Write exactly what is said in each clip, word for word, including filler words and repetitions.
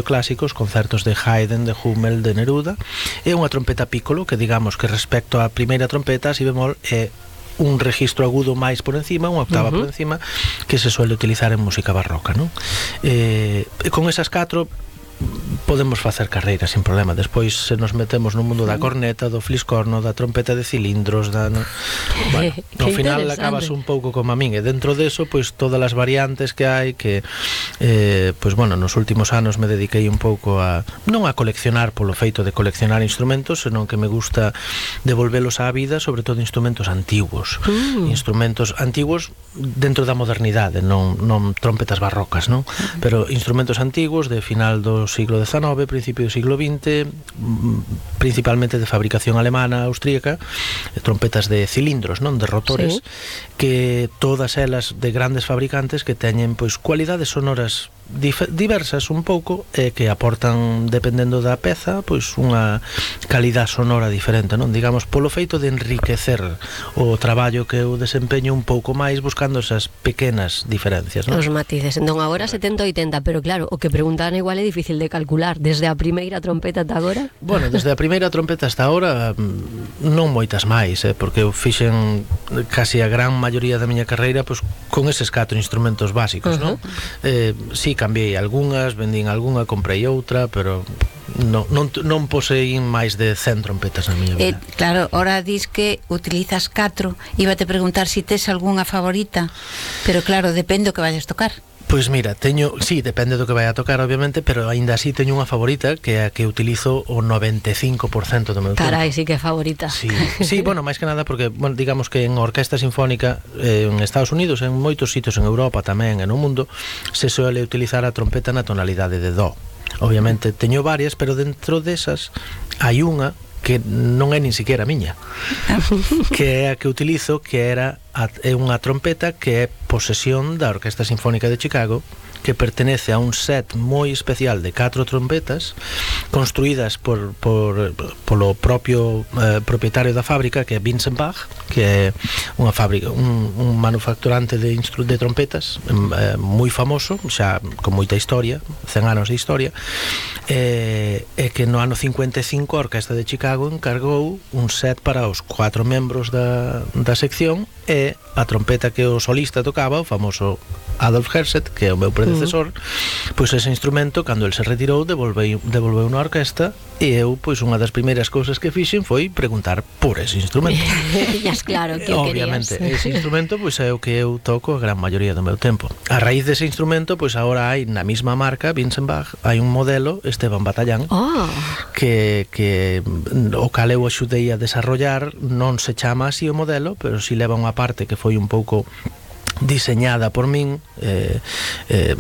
clásicos, concertos de Haydn, de Hummel, de Neruda, e unha trompeta piccolo que digamos que respecto á primeira trompeta, si bemol, é un registro agudo máis por encima, unha octava uh-huh. por encima, que se suele utilizar en música barroca, non? Eh, con esas catro podemos facer carreira sin problema. Despois se nos metemos no mundo da corneta, do fliscorno, da trompeta de cilindros, da, no... bueno, ao final acabas un pouco como a min, e dentro deso, pois todas as variantes que hai, que eh, pois bueno, nos últimos anos me dediquei un pouco a, non a coleccionar polo feito de coleccionar instrumentos, senón que me gusta devolvelos á vida, sobre todo instrumentos antigos, mm. instrumentos antigos dentro da modernidade, non, non trompetas barrocas, non? Pero instrumentos antigos de final do siglo dezanove, principio do siglo vinte, principalmente de fabricación alemana, austríaca, trompetas de cilindros, non, de rotores, sí. que todas elas de grandes fabricantes que teñen pois cualidades sonoras diversas un pouco, e que aportan, dependendo da peza, pois unha calidad sonora diferente, non? Digamos, polo feito de enriquecer o traballo que eu desempeño un pouco máis, buscando esas pequenas diferencias, non? Os matices. Entón agora setenta oitenta, pero claro, o que preguntan igual é difícil de calcular. Desde a primeira trompeta ata agora? Bueno, desde a primeira trompeta hasta agora non moitas máis, eh, porque eu fixen casi a gran maioría da miña carreira pois con eses catro instrumentos básicos, uh-huh. non? Eh, sí, cambiei algunhas, vendín algunha, comprei outra, pero non, non, non poseín máis de cen trompetas na miña vida. Eh, claro, ora dis que utilizas catro, iba te preguntar se si tes algunha favorita, pero claro, depende o que vayas tocar. Pois mira, teño, sí, depende do que vai a tocar, obviamente, pero aínda así teño unha favorita que é a que utilizo o noventa e cinco por cento do meu tempo. Carai, sí que é favorita. Sí, sí, bueno, máis que nada porque, bueno, digamos que en orquesta sinfónica eh, en Estados Unidos, en moitos sitios en Europa tamén e no mundo, se suele utilizar a trompeta na tonalidade de do. Obviamente teño varias, pero dentro desas hai unha que non é nin siquiera miña, que é a que utilizo, que era a, é unha trompeta que é posesión da Orquesta Sinfónica de Chicago, que pertenece a un set moi especial de catro trompetas construídas por, por polo propio eh, propietario da fábrica, que é Vincent Bach, que é unha fábrica, un, un manufacturante de, instru de trompetas eh, moi famoso, xa con moita historia, cen anos de historia, e eh, que no ano cincuenta e cinco a Orquesta de Chicago encargou un set para os cuatro membros da, da sección, e a trompeta que o solista tocaba, o famoso Adolf Herset, que é o meu predecesor, mm. pois ese instrumento, cando el se retirou, devolveu, devolveu na orquesta, e eu, pois unha das primeiras cousas que fixen foi preguntar por ese instrumento. Yas claro, que o obviamente, querías. ese instrumento pois é o que eu toco a gran maioría do meu tempo. A raíz dese instrumento, pois agora hai na mesma marca, Vincent Bach, hai un modelo, Esteban Batallán, oh. que, que o cal eu axudei a desarrollar, non se chama así o modelo, pero si leva unha parte que foi un pouco diseñada por min, eh, eh,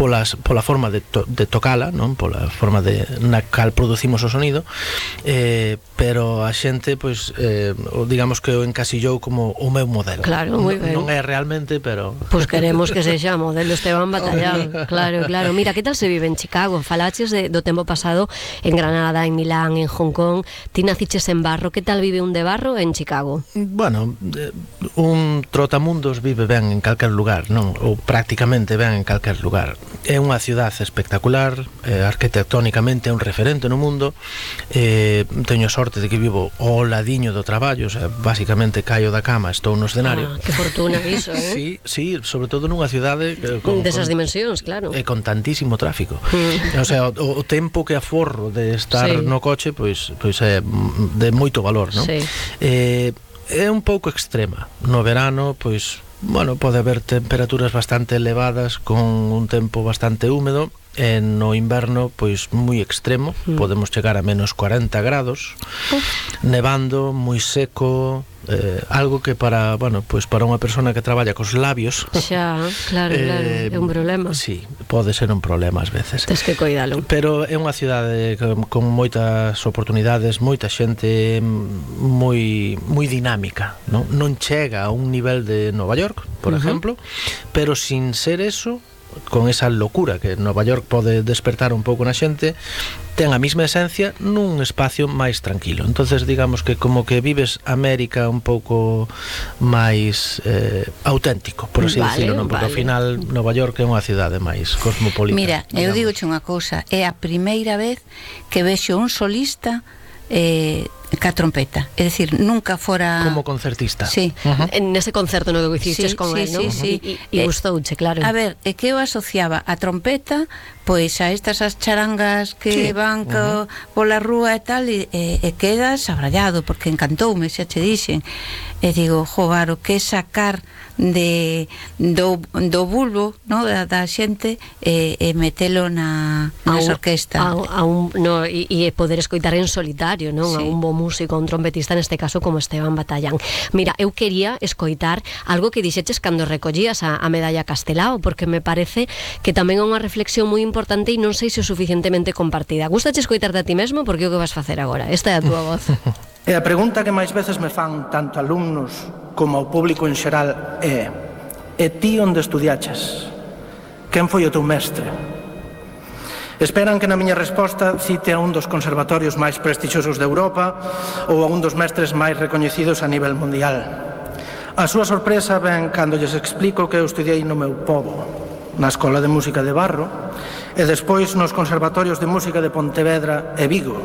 polas, pola forma de, to, de tocala, non? Pola forma de, na cal producimos o sonido, eh, pero a xente, pois, eh, digamos que o encasillou como o meu modelo. Claro, moi ben. Non é realmente, pero... Pois pues queremos que sexa modelo Esteban Batallán. Claro, claro. Mira, que tal se vive en Chicago? Falaches de, do tempo pasado en Granada, en Milán, en Hong Kong. Ti naciches en Barro. Que tal vive un de Barro en Chicago? Bueno, un trotamundos vive ben en calquer lugar, non? Ou prácticamente ben en calquer lugar. É unha cidade espectacular, eh, arquitectónicamente é un referente no mundo, eh, teño sorte de que vivo ao ladiño do traballo, o sea, basicamente caio da cama, estou no escenario. Ah, que fortuna iso, eh? Sí, sí, sobre todo nunha cidade eh, con, desas con, dimensións, claro. E con tantísimo tráfico. Mm. O sea, o, o tempo que aforro de estar sí. no coche, pois, pois é de moito valor, non? Sí. Eh, é un pouco extrema. No verano, pois, bueno, pode haber temperaturas bastante elevadas con un tempo bastante húmedo, e no inverno, pois, moi extremo, mm. podemos chegar a menos cuarenta grados, uh. nevando, moi seco, eh, algo que para, bueno, pois para unha persona que traballa cos labios, xa, claro, eh, claro, é un problema. Sí, pode ser un problema ás veces. Tens que coidalo. Pero é unha cidade con, con moitas oportunidades, moita xente moi moi dinámica, non? Non chega a un nivel de Nova York, por uh-huh. exemplo, pero sin ser eso, con esa locura que Nova York pode despertar un pouco na xente, ten a mesma esencia nun espacio máis tranquilo. Entonces digamos que como que vives América un pouco máis eh, auténtico, por así vale, decirlo, non? Porque vale. ao final Nova York é unha cidade máis cosmopolita. Mira, eu digamos. digoche unha cousa, é a primeira vez que vexo un solista eh, ca trompeta, é dicir, nunca fora como concertista. Sí. Uh-huh. En ese concerto no que hicisteis Sí, con sí, él, ¿no? sí, sí. E, e Eh, gustouche, claro. A ver, é que eu asociaba a trompeta pois a estas as charangas que Sí. van co, pola rúa e tal, e, e, e quedas abrallado porque encantoume, xa che dixen. E digo, jobar, o que sacar de do, do bulbo, no, da, da xente e, e metelo na, A nas un- orquesta. A, a un, no, e, e poder escoitar en solitario, non? Sí. A un bo músico, un trompetista, neste caso como Esteban Batallán. Mira, eu quería escoitar algo que dixeches cando recollías a, a medalla Castelao, porque me parece que tamén é unha reflexión moi importante e non sei se o suficientemente compartida. Gustache escoitarte a ti mesmo? Porque é o que vas facer agora. Esta é a túa voz. E a pregunta que máis veces me fan tanto alumnos como ao público en xeral é: e ti onde estudiaches? Quen foi o teu mestre? Esperan que na miña resposta cite a un dos conservatorios máis prestixiosos de Europa ou a un dos mestres máis recoñecidos a nivel mundial. A súa sorpresa ven cando lles explico que eu estudiei no meu pobo, na Escola de Música de Barro, e despois nos conservatorios de música de Pontevedra e Vigo,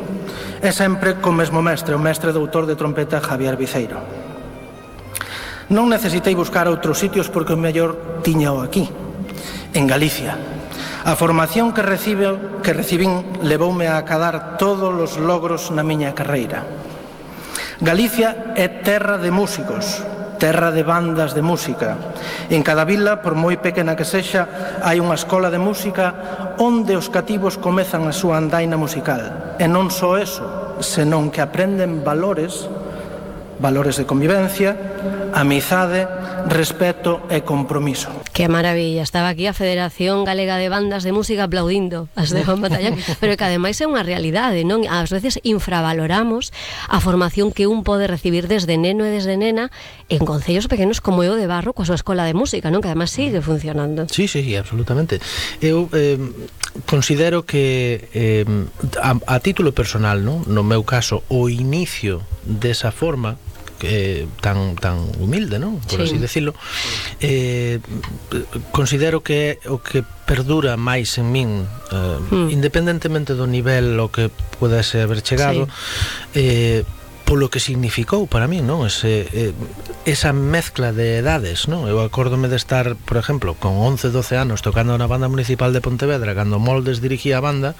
e sempre co mesmo mestre, o mestre doutor de trompeta Javier Viceiro. Non necesitei buscar outros sitios porque o mellor tiñao aquí, en Galicia. A formación que recibe, que recibín levoume a acadar todos os logros na miña carreira. Galicia é terra de músicos, terra de bandas de música. En cada vila, por moi pequena que sexa, hai unha escola de música onde os cativos comezan a súa andaina musical. E non só eso, senón que aprenden valores, valores de convivencia, amizade, respeto e compromiso. Que maravilla, estaba aquí a Federación Galega de Bandas de Música aplaudindo a Esteban Batallán, pero que ademais é unha realidade, non? Ás veces infravaloramos a formación que un pode recibir desde neno e desde nena en concellos pequenos como é o de Barro coa súa escola de música, non? Que ademais sigue funcionando. Sí, sí, sí, absolutamente. Eu eh, considero que eh, a, a título personal, non? No meu caso, o inicio desa forma que tan tan humilde, non? Por Sí. así decirlo, eh, considero que o que perdura máis en min, eh, Mm. independentemente do nivel o que pudese haber chegado, Sí. eh, polo que significou para mí, non? Ese, eh, esa mezcla de edades, non? Eu acórdome de estar, por exemplo, con once, doce anos tocando na banda municipal de Pontevedra cando Moldes dirigía a banda,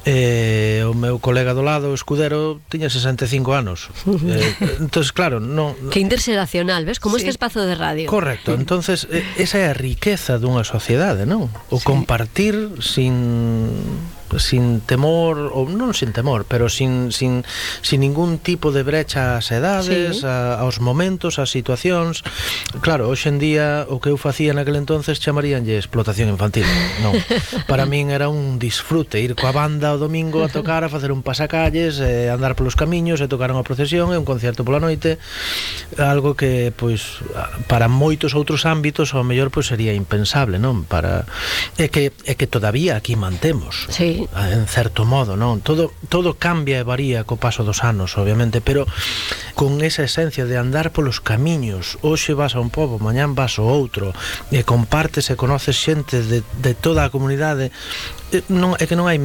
eh, o meu colega do lado, o Escudero, tiña sesenta e cinco anos. eh, entonces, claro, non... Que interxeracional, ves? Como Sí. este espazo de radio. Correcto, entonces eh, esa é a riqueza dunha sociedade, non? O Sí. compartir sin sin temor, ou non sin temor, pero sin, sin, sin ningún tipo de brecha ás edades, Sí. a, aos momentos, ás situacións. Claro, hoxe en día o que eu facía naquele entonces chamaríanlle explotación infantil. Non, para min era un disfrute ir coa banda o domingo a tocar, a facer un pasacalles, eh, andar polos camiños e tocar unha procesión e un concerto pola noite, algo que pois para moitos outros ámbitos ao mellor pois sería impensable, non? Para é que é que todavía aquí mantemos. Sí. En certo modo, non? Todo todo cambia e varía co paso dos anos, obviamente, pero con esa esencia de andar polos camiños, hoxe vas a un pobo, mañán vas ao outro, e compartes e conoces xente de, de toda a comunidade. Eh, non, é que non hai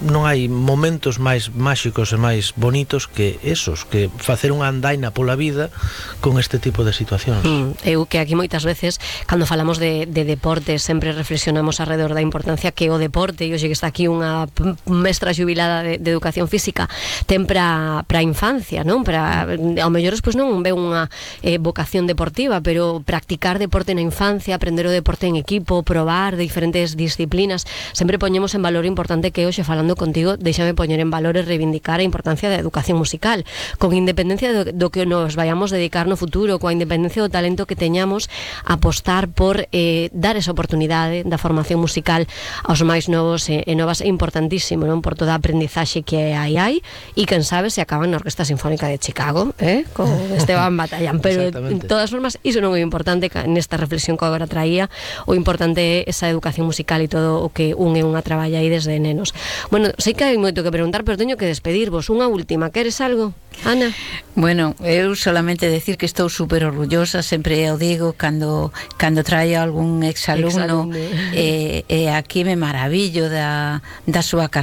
non hai momentos máis máxicos e máis bonitos que esos, que facer unha andaina pola vida con este tipo de situacións. Mm, eu que aquí moitas veces cando falamos de, de deporte sempre reflexionamos alrededor da importancia que o deporte, e hoxe que está aquí unha p- mestra xubilada de, de educación física, ten para a infancia, non? Para, ao mellor pois non ve unha eh, vocación deportiva, pero practicar deporte na infancia, aprender o deporte en equipo, probar de diferentes disciplinas, sempre poñemos poñamos en valor o importante que hoxe falando contigo, déxame poñer en valor e reivindicar a importancia da educación musical, con independencia do, do que nos vayamos dedicar no futuro, coa independencia do talento que teñamos, apostar por eh, dar esa oportunidade da formación musical aos máis novos e, e novas é importantísimo, non? Por toda a aprendizaxe que hai hai, e quen sabe se acaban na Orquesta Sinfónica de Chicago, eh? Con Esteban Batallán, pero en todas formas iso non é importante nesta reflexión que agora traía. O importante é esa educación musical e todo o que un e unha traballa aí desde nenos. Bueno, sei que hai moito que preguntar, pero teño que despedirvos. Unha última, queres algo, Ana? Bueno, eu solamente decir que estou super orgullosa, sempre o digo cando cando traio algún exalumno, e eh, eh, aquí me maravillo da, da súa carreira.